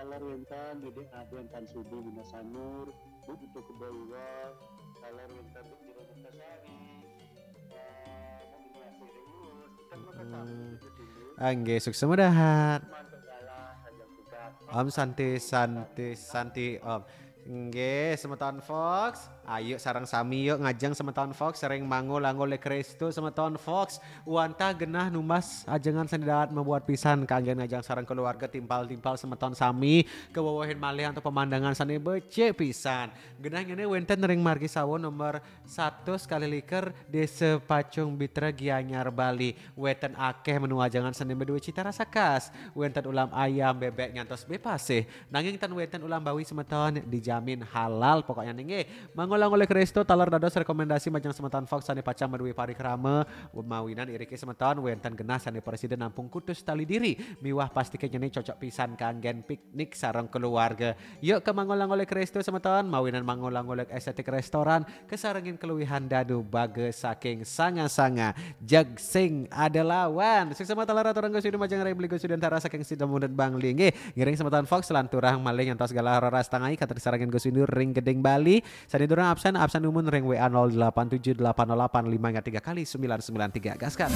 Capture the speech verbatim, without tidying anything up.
Taler wénten Dédé Adén Tan Sudi Bina Sanur, Bu Putu Kebo Iwa, taler wénten Bu Jero Kertasari, eh, Bu Bina Asih Ringus, kan maka tamu itu dulu. Nggih, sukses mudahan. Mantuk galah, ajang tugas. Om Santi, Santi, Santi, Om. Nggih, semeton Fox. Ayo sareng sami yuk ngajeng semeton Fox, sering mangul-angul le Kristu semeton Fox. Wantah genah numbas ajengan sane dawat mabuat pisan kanggen ngajeng sareng keluarga timpal-timpal semeton sami kewewehin malih antuk pemandangan sane becik pisan. Genah ngene wenten ring margi sawo nomor seratus kali likur Desa Pacung Bitra Gianyar Bali. Wenten akeh menu ajengan sane madue cita rasa khas. Wenten ulam ayam, bebek nyantos bebek pasih. Nanging ten wenten ulam bawi semeton dijamin halal pokoknya nggih. Mangul-angul Kristu taler dados rekomendasi majeng semeton Fox sane pacang madue parikrama mawinan iriki semeton wenten genah sane prasida nampung kutus tali diri miwah pastike nyene cocok pisan kanggen piknik sareng keluarga. Yuk ke mangul-angul Kristu semeton mawinan mangul-angul estetik restoran kesarengin keluwihan dadu baga saking sanga-sanga jeg sing ada lawan. Sukses mata lara turang Gus Windu majeng ring beli Gus Windu antara saking Sidamundet Bangli. Nggih, ngiring semeton Fox lan turang malih nyantos galah roras tangai katri sarengin Gus Windu ring Gedeng Bali. Sane durung absen, absen umun ring W A nol delapan tujuh delapan nol delapan lima tiga kali sembilan sembilan tiga. Gaskan.